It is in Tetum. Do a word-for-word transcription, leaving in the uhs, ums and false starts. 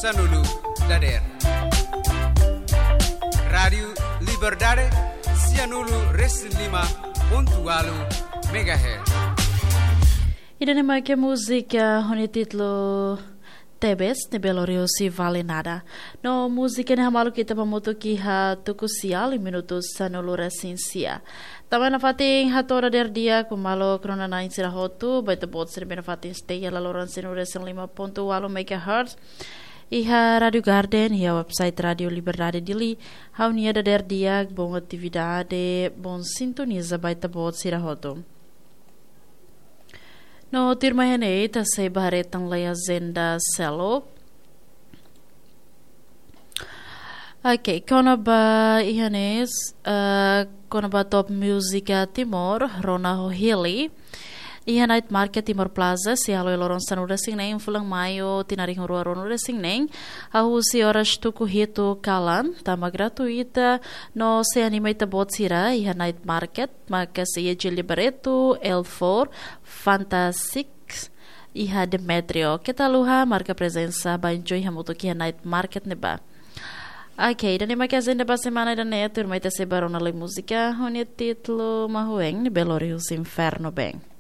Sanulu dader. Rádiu Liberdade, sianulu resin lima pontu walu megahertz. Ida-ne'e mak múzika ho nia títulu Tebes, ne'ebé lori husi Vale Nada. No múzika ne'e hamaluk ita ba hamutuk iha tuku sia, minutu sanulu resin sia. Tanba nafatin hato'o dader di'ak ba maluk rona-na'in sira hotu, ba ita-boot sira ne'ebé nafatin stay iha laloran sianulu resin lima pontu walu megahertz. Iha Rádiu Garden, iha website Rádiu Liberdade Dili, ha'u-nia dader di'ak, bom atividade, bom sintoniza ba ita-boot sira hotu. No tuirmai iha ne'e, ita sei ba haree tan lai ajenda seluk. Ok, kona-ba iha ne'e, eh, kona-ba Top Música Timor, rona ho hili. Iha Night Market Timor Plaza, sei hala'o iha loron sanulu resin neen, fulan Maiu, tinan rihun rua ruanulu resin neen, hahú husi oras tuku hitu kalan, tanba gratuita, no sei anima ita-boot sira, iha Night Market, maka sei iha Gilberto, L four, Fantastic, iha Demetrio. Keta haluha, marka prezensa, ba enjoy hamutuk iha Night Market ne'ebá. Ok, ida-ne'e mak ajenda ba semana ida-ne'e, tuirmai ita sei ba rona lai múzika, ho nia títulu Mahuen, ne'ebé lori husi Inferno Band.